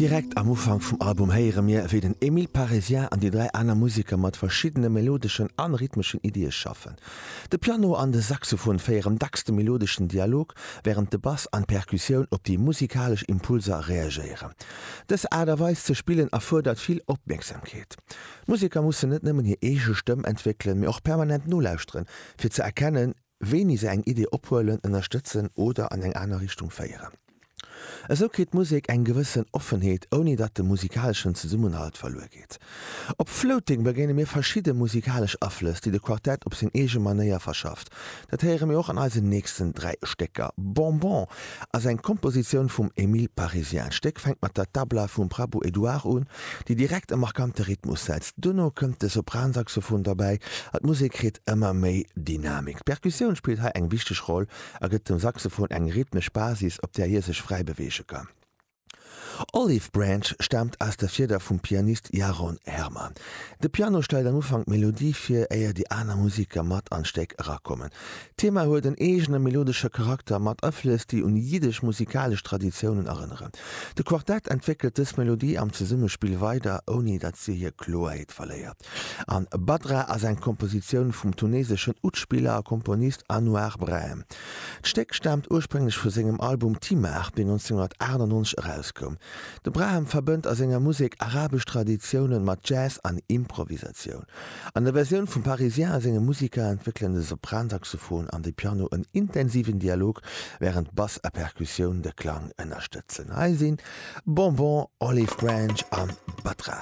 Direkt am Ufank vum Album héiere mir, wéi den Emile Parisien an déi 3 aner Museker mat verschiddene melodeschen an rhythmeschen Iddie schaffen. De Piano an de Saxophon féieren dacks de melodeschen Dialog, wärend de Bass an d'Perkussioun op déi musikalesch Impulser reagéieren. Dës Aart a Weis ze spillen erfuerdert vill Opmierksamkeet. D'Museker mussen net nëmmen hir eege Stëmm entwéckelen, mee och permanent nolauschteren, fir ze erkennen, wéini se eng Idee ophuelen, ënnerstëtzen oder an eng aner Richtung féieren. Esou kritt d'Musek eng gewëssen Offenheet, ouni datt de musikaleschen Zesummenhalt verluer geet. Op Floating begéine mir verschidde musikalesch Aflëss, déi de Quartett op seng eege Manéier verschafft. Dat héiere mir och an eisen nächsten 3 Stécker. Bonbon ass eng Kompositioun vum Émile Parisien. D'Stéck fänkt mat der Tabla vum Prabhu Edouard un, déi direkt e markante Rhythmus setzt. Duerno kënnt de Sopransaxophon derbäi a d'Musek kritt ëmmer méi Dynamik. D'Perkussioun spillt hei eng wichteg Roll a gëtt dem Saxophon eng rhythmesch Basis, op där hie sech fräi beweege kann. Olive Branch staamt aus der Fieder vum Pianist Yaron Herman. De Piano stellt am Ufank d'Melodie vir, éier déi aner Musiker mat an d'Stéck erakommen. D'Thema huet en eegene melodesche Charakter mat Aflëss, déi un jiddesch musikalesch Traditiounen erënneren. De Quartett entwéckelt dës Melodie am Zesummespill weider, ouni datt si hir Kloerheet verléiert. An Badra ass eng Kompositioun vum tuneseschen Oud-Spiller a Komponist Anouar Brahem. D'Stéck staamt ursprénglech vu sengem Album Timar, deen 1998 erauskoum. De Brahem verbënnt a senger Musek arabesch Traditioune mat Jazz an Improvisatioun. An der Versioun vum Parisien a senge Musiker entwéckelen de Sopransaxophon an de Piano en intensiven Dialog, wärend Bass a Perkussioun de Klang ënnerstëtzen. Hei sinn Bonbon, Olive Branch a Batra.